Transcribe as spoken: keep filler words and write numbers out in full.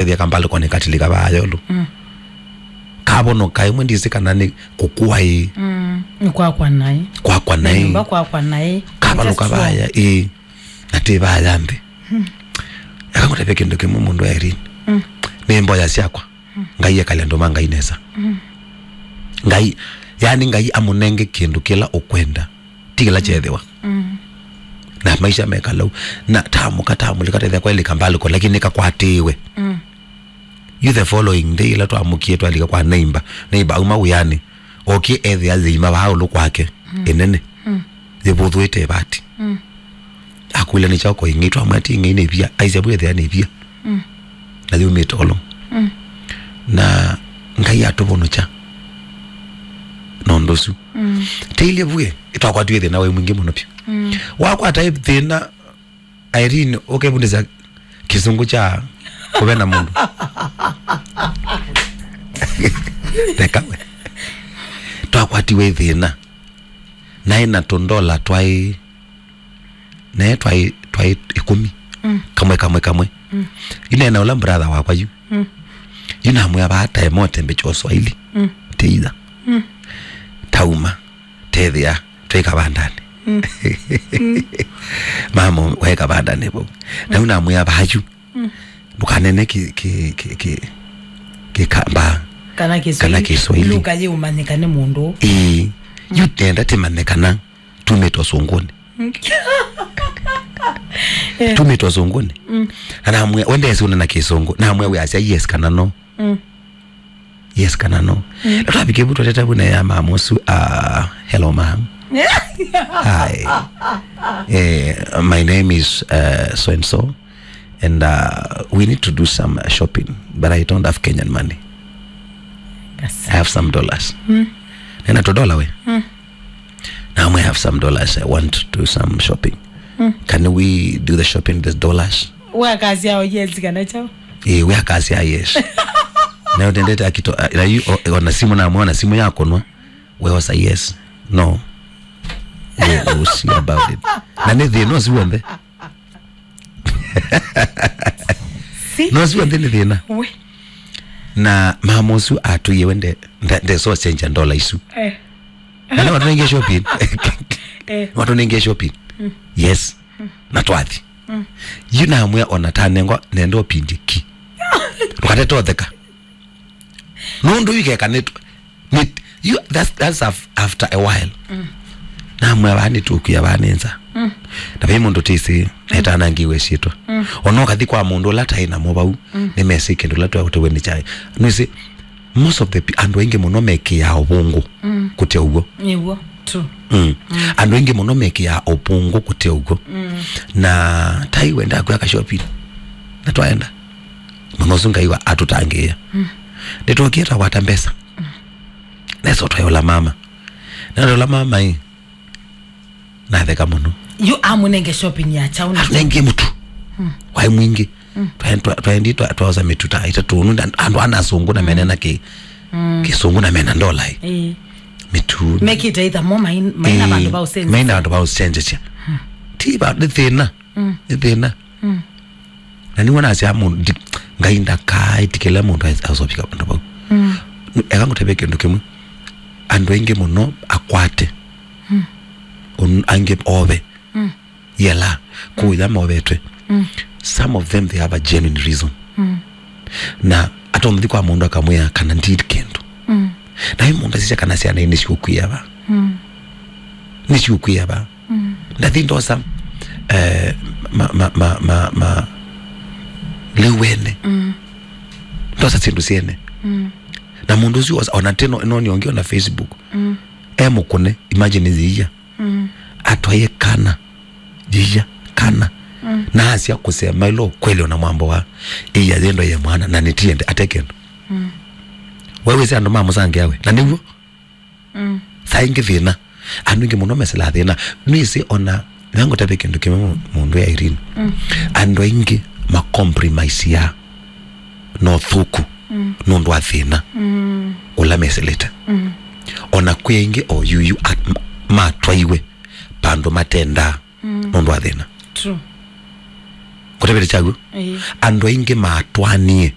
ethĩa kambalĩkonĩ katilika vaa yolo. Mm. Kavonoka ĩmwe ndĩsĩ kana nĩ kũkua ĩ. Mm. Nĩ kwakwa naĩ. Kwakwa naĩ. Nĩ nyũmba kwakwa naĩ. Kavalũka vaya ĩ. Na tĩ vaya nthĩ. Mm. Eka ngũtavye kĩndũ kĩmwe mũndũ Irene. Mm. Nĩ mboya syakwa. Mm. Ngai ekale andũ ma Ngai nesa. Mm. Ngai, yani Ngai amũnenge kĩndũ kĩla ũkwenda. Ti kĩla kyethĩwa. Mm. Na maisha mekalau. Na tamũka tamũlika tethĩa kwailika mbaliko, lakini nĩkakwatĩĩwe. Mm. You the following day, ĩla twamũkie twalika kwa neighbor. Neighbor auma wĩanĩ. Okie ethĩa yĩima vaa ũlũ kwake. Mm. Ĩnene. Mm. Yĩvũthũĩte ĩvati. Mm. Akwĩla nĩ kyao koing'ei, twamwĩa ti ing'ei nĩ ivia, aisya vu ethĩa nĩ ivia. Mm. Na yumĩte olo. Mm. Na Ngai atũvonokya na ũndũ ũsu. Mm. Teilye vue, twakwatiwe thĩna wĩ mwingĩ mũno vyũ. Mm. Wakwata thĩna, Irene, ũkevundĩsya kĩsũngũ kya kũvena mũndũ. Reka we. Twakwatiwe thĩna. Naĩ na tũndola twaĩ naye twaĩ twaĩ ĩkũmi. Mm. Kamwe kamwe kamwe. Mm. Yu nena ũla brother wakwa yu. Mm. Yu namwĩa vaa tae mote mbecho Swahili. Mm. Teiza. Mm. Tauma. Tethĩa. Twĩ kavandanĩ. Mm. Mama waĩ kavandanĩ vau. Na yu namwĩa vaa yu. Mm. Ndũkanene ki ki ki ki kikamba. Kana Kiswahili. Kana Kiswahili. Luka yĩũmanyĩka nĩ mũndũ. Ĩĩ. Yu tenda tĩmanye kana tumĩte ũsũngũnĩ. Eh. Tumĩte ũsũngũnĩ. Mm. Na namwĩa, wendee siũne na kĩsũngũ. Namwĩa wĩasya yes kana no. Mm. Yes kana no. Mm. Na twavike vu twateta vu na ya mama ũsu, uh, hello mom. Hi. Eh, my name is, uh, so and so. And, uh, we need to do some, uh, shopping. But I don't have Kenyan money. Yes. I have some dollars. Mm. Nena tũdola we. Mm. Now I have some dollars. I want to do some shopping. Mm. Can we do the shopping with the dollars? Wakasya o yes kana chao? Eh, we akasya yes. Na utendete akito, a-, na yu, o-, ona simu na mwana simu yako no. We was a yes. No. We will see about it. Na nĩ thĩna ũsu w'onthe. Si. No ũsu w'onthe nĩ thĩna. We. Na mama ũsu atũie we nde, nde, nde so senja ndola isu. Eh. Na nĩ watũnengie shopping. Eh. Watũnengie shopping. Mm. Yes. Mm. Na twathi. Mm. Yu namwĩa ona tanengwa nenda ũpindie ki. Ndũkatete ũtheka. Nũndũ yu keka nĩ, nĩ, you, that's, that's af-, after a while. Mm. Namwĩa vaa nĩtũkwĩa vaa nĩ nza. Mm. Na vai mũndũ tĩsĩ, mm, etanangiwe syĩtwa. Mm. Ona ũkathi kwa mũndũ ũla taĩ namo vau, mm, nĩmesĩ kĩndũ ũla twatũwe nĩ kyaĩ. Nĩsĩ, most of the pe-, andũ aingĩ mũno mekĩaa ũvũngũ, mm, kũte ũw'o. Nĩw'o, true. Mm. Mm. Andũ aingĩ mũno mekĩaa ũvũngũ kũte ũw'o. Mm. Na tai wendaa kwĩka shopping. Na twaenda. Mũno ũsu Ngai wa atũtangĩĩa. Mm. Nĩtwokie twakwata mbesa. Mm. Nesa ũtwaĩola mama. Na ũla mama ĩ. Natheka mũno. Yu amũnenge shopping ya chauna. Atũnengie mũtu. Mm. Waĩ mwingĩ. Mm. Twae-, twa-, twaendi twa-, twaosa mĩtu ta ĩtatũ. Nũndũ andũ ana asũngũ na mena na kĩ-, mm, kĩsũngũ na mena ndola ĩ. Ĩĩ. Mĩtu. Mekĩte either mo main-, maina, ĩĩ, vandũ va ũsenjasya. Maina vandũ va ũsenjasya. Mm. Ti va, nĩ thĩna. Mm. Nĩ thĩna. Mm. Na nĩw'o nasya mũndũ, ndi-, Ngai ndakaĩtĩkĩla mũndũ as-, asovika vandũ vau. Mm. Eka ngũtavye kĩndũ kĩmwe. Andũ aingĩ mũno akwate. Mm. Un-, angĩ ove. Mm. Yela, mm, kũya movetwe. Mm. Some of them, they have a genuine reason. Mm. Na atonthi kwa mũndũ akamwĩa kana ndid kĩndũ. Mm. Na ĩ mũndũ asisya kana syana nĩ siũkwĩa va. Mm. Nĩ siũkwĩa va. Mm. Ndathi ndosa, eh, ma, ma, ma, ma, ma, lĩu wene. Mm. Ndosa syĩndũ syene. Mm. Na mũndũ ũsu osa, ona teno, noni ongi ona Facebook. Mm. E mũkũne, imagine yĩia. Mm. Atwaie kana. Yĩia, kana. Mm. Na asya kũsema ĩla ũkweli ona mwambo wa. Ĩia yendo ye mwana, na nĩtiende, ate kĩndũ. Mm. We wĩsĩ andũ ma mũsangĩa we. Na nĩw'o. Mm. Saa ingĩ thĩna. Andũ aingĩ mũno mesĩlaa thĩna. Nĩsĩ ona, na ngũtavye kĩndũ kĩmwe mũ-, mũndũ ya Irene. Mm. Andũ aingĩ macompromiseaa na ũthũku, mm, nũndũ wa thĩna, mm, ũla mesĩlĩte. Mm. Ona kwĩ aingĩ o yuyu at-, ma-, matwaiwe vandũ matendaa, mm, nũndũ wa thĩna. True. Kũtavĩte kyaw'o? Ĩĩ. Andũ aingĩ matwanie